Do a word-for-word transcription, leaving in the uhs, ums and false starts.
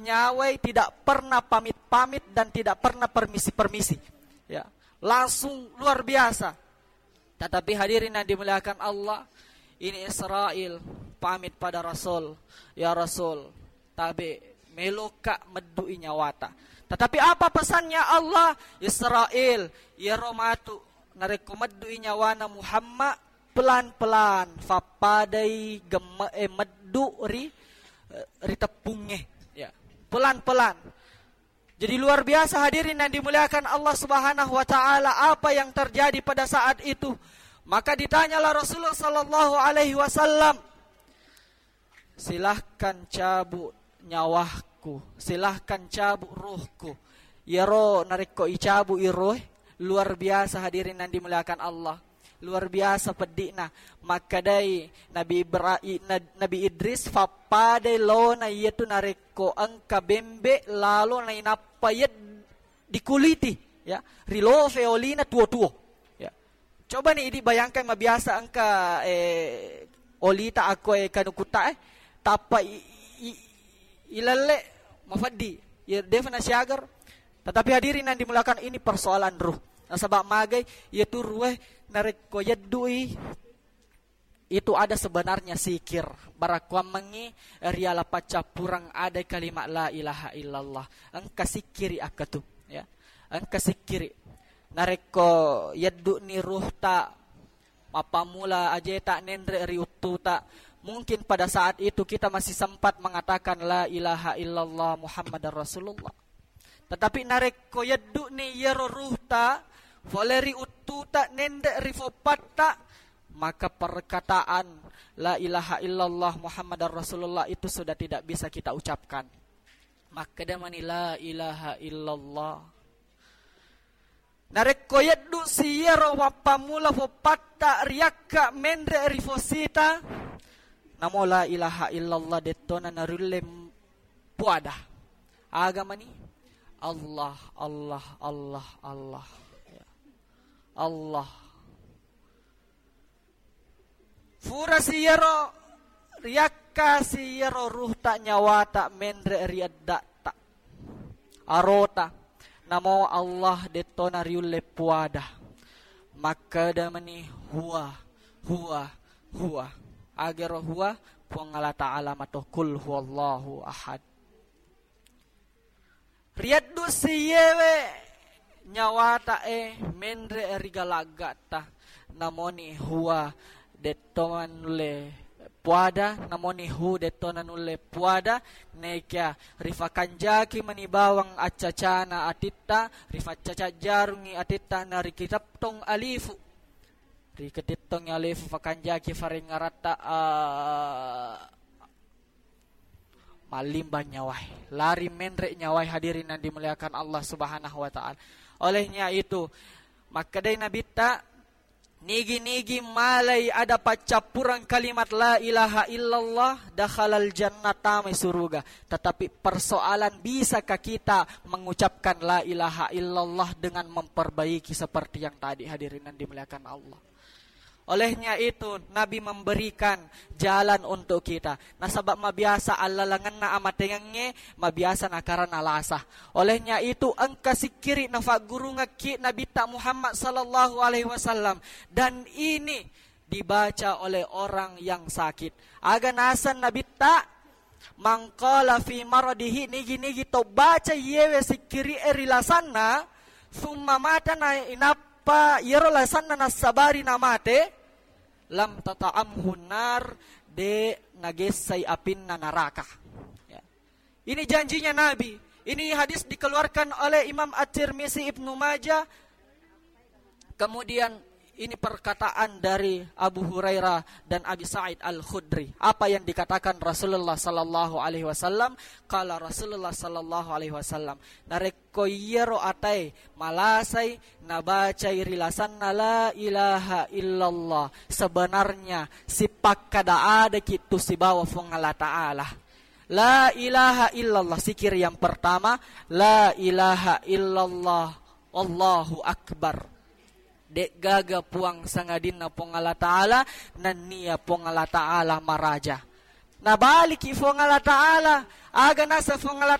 nyawai tidak pernah pamit-pamit dan tidak pernah permisi-permisi. Ya, langsung luar biasa. Tetapi hadirin yang dimuliakan Allah, ini Israel pamit pada Rasul, "Ya Rasul, tabe meloka meddui nyawata." Tetapi apa pesannya Allah? "Israel, iyaro matu narekko meddui nyawana Muhammad, pelan-pelan, fappadai gemme'e meddu ri, ri teppungnge." Ya, pelan-pelan. Jadi luar biasa hadirin yang dimuliakan Allah Subhanahu wa taala apa yang terjadi pada saat itu. Maka ditanyalah Rasulullah sallallahu alaihi wasallam, "Silahkan cabut nyawahku, silahkan cabut ruhku." Iyaro narekko icabu i ruh, luar biasa hadirin yang dimuliakan Allah. Luar biasa peddi'na. Makkedai Nabi Ibra-, i-, Na-, Nabi Idris, "Fappadai lona iyatu narekko engka bembe lalo nainappa yed-, dikuliti, ya, rilofe olina tuo-tuo." Ya. Coba ni idi bayangkan, mabiasa engka, eh, olita akko, eh, kanukutta, eh, tappa i-, i-, ilelle mafeddi. Ya, defa nasiagar. Tetapi hadirin yang dimuliakan, ini persoalan ruh. Nasaba magai, iyatu ruh e narekko yeddui, itu ada sebenarnya sikir. Barakkuammengngi riala paccappureng ada kalimat la ilaha illallah. Engka sikkiri akkatu, ya. Engka sikkiri. Narekko yedduni ruhta, mappammula ajeta nenre ri uttuta, mungkin pada saat itu kita masih sempat mengatakan la ilaha illallah Muhammadar Rasulullah. Tetapi narekko yedduni iyaro ruhta fole ri uttuta nenre ri foppatta, maka perkataan la ilaha illallah Muhammadar Rasulullah itu sudah tidak bisa kita ucapkan. Makkeda mani la ilaha illallah. Narekko yeddu si iyaro mappammula foppatta riakka menre ri fosita, namo la ilaha illallah dettona nariulle puada. Aga mani? Allah, Allah, Allah, Allah. Ya. Allah. Fura si iyaro, riakka si iyaro ruhta nyawata menre ri edda'ta, arota. Namo Allah dettona riulle puada. Makkeda mani huwa, huwa, huwa. Agero huwa, Puang Allah Ta'ala mato, kul huwallahu ahad. Rieddu siyewe nyawata e menre ri galagga'ta, namoni huwa detto manulle puada, namoni hu detto nanulle puada, nekia rifakanjaki mani bawang accacana atitta, rifaccaca jarungi atitta, narikitettong alifu. Rikitettong alifu fakanjaki farengngaratta, a, mallimbang nyawai, lari menre nyawai, hadirin yang dimuliakan Allah Subhanahu wa Ta'ala. Olehnya itu, makkedai Nabitta, nigi-nigi malai ada paccappureng kalimat la ilaha illallah, dakhalal jannah, tamai suruga. Tetapi persoalan, bisakah kita mengucapkan la ilaha illallah dengan memperbaiki seperti yang tadi, hadirin yang dimuliakan Allah? Olehnya itu, Nabi memberikan jalan untuk kita. Nasaba mabiasa allalengenna amatengengnge, mabiasa nakarana lasa. Olehnya itu, engka sikkiri nafaggurungekki Nabitta Muhammad sallallahu alaihi wasallam. Dan ini dibaca oleh orang yang sakit. Aga naseng Nabitta, "Man qala fi maradihi," nigi-nigi to baca iyewe sikkiri'e ri lasanna, summa mata, na inappa iyaro lasanna nassabari namate, lam tata'amhun nar, de nagessai apinna naraka. Ya. Ini janjinya Nabi. Ini hadis dikeluarkan oleh Imam At-Tirmizi, Ibnu Majah. Kemudian ini perkataan dari Abu Hurairah dan Abi Sa'id Al-Khudri. Apa yang dikatakan Rasulullah sallallahu alaihi wasallam? Qala Rasulullah sallallahu alaihi wasallam, narekko iyaro atae malasai nabacai ri lasanna la ilaha illallah, sebenarnya sipakkada adaki tu sibawa Fuang Allah Ta'ala. La ilaha illallah, sikir yang pertama, la ilaha illallah, Allahu Akbar. De'gaga puang sangadinna Puang Allah Ta'ala, nennia Puang Allah Ta'ala maraja. Nabaliki Puang Allah Ta'ala, aga nasa Puang Allah Ta'ala